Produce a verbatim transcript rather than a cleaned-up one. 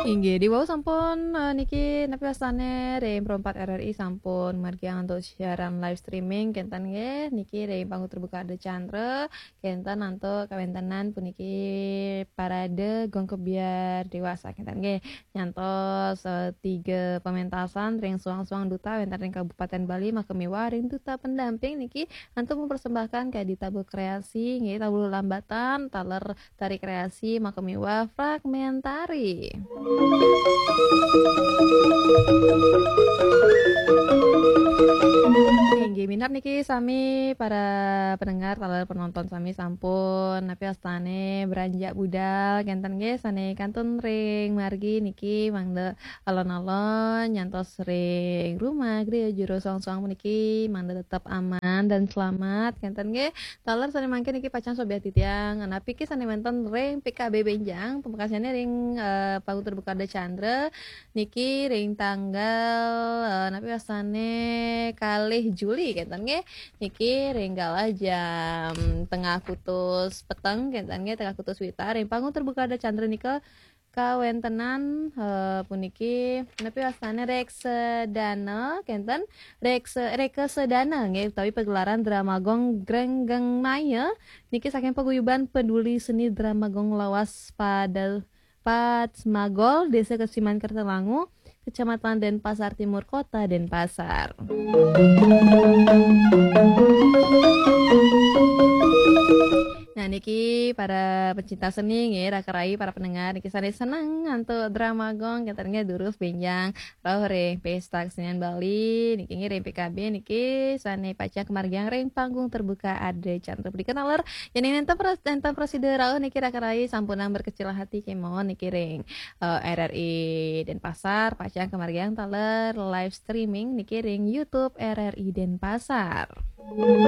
Inggih, diwau sampun, eh, niki napi wastane ring Pro empat R R I sampun margiang antuk siaran live streaming kenten nggih. Niki ring panggung terbuka Ardha Candra kenten antuk kawentenan puniki parade Gong Kebyar Dewasa kenten nggih. Nyantos, eh, tiga pementasan ring suang-suang duta wenten ring Kabupaten Bali, maka miwah ring duta pendamping niki antuk mempersembahkan kadi tabuh kreasi nggih, tabuh lambatan taler tari kreasi maka miwah fragmentari. Inggih minab niki sami para pendengar taler penonton sami sampun napi wastane beranjak budal kenten nggih sane kantun ring margi niki mangda alon-alon nyantos ring rumah griya jero suang-suang puniki mangda tetep aman dan selamat kenten nggih. Taler sane mangkin niki pacang sobiah titiang, napi ke sane wenten ring P K B benjang, pamekasane ring, eh, panggung terbuka Ardha Candra, niki ring tanggal, eh, napi wastane kalih Juli kenten nggih. Niki ring galah jam tengah kutus peteng kenten nggih, tengah kutus wita ring panggung terbuka Ardha Candra nika kawentenan, eh, puniki napi wastane reksadana kenten reksa-, rekasadana nggih utawi pagelaran drama gong Grenggeng Maya niki saking paguyuban Peduli Seni Drama Gong Lawas pada Patsmagol, Desa Kesiman Kertalangu, Kecamatan Denpasar Timur, Kota Denpasar. Nah, niki para pecinta seni nggih, raka rai para pendengar niki sane seneng antuk drama gong kenten nggih durus benjang rauh ring Pesta Kesenian Bali niki nggih ring P K B niki sane pacang kamargiang ring panggung terbuka Ardha Candra. Punika taler yen nenten pros-, nenten prasida rauh niki raka rai sampunang berkecil hati kemawon niki ring, eh, R R I Denpasar pacang kamargiang taler live streaming niki ring YouTube R R I Denpasar.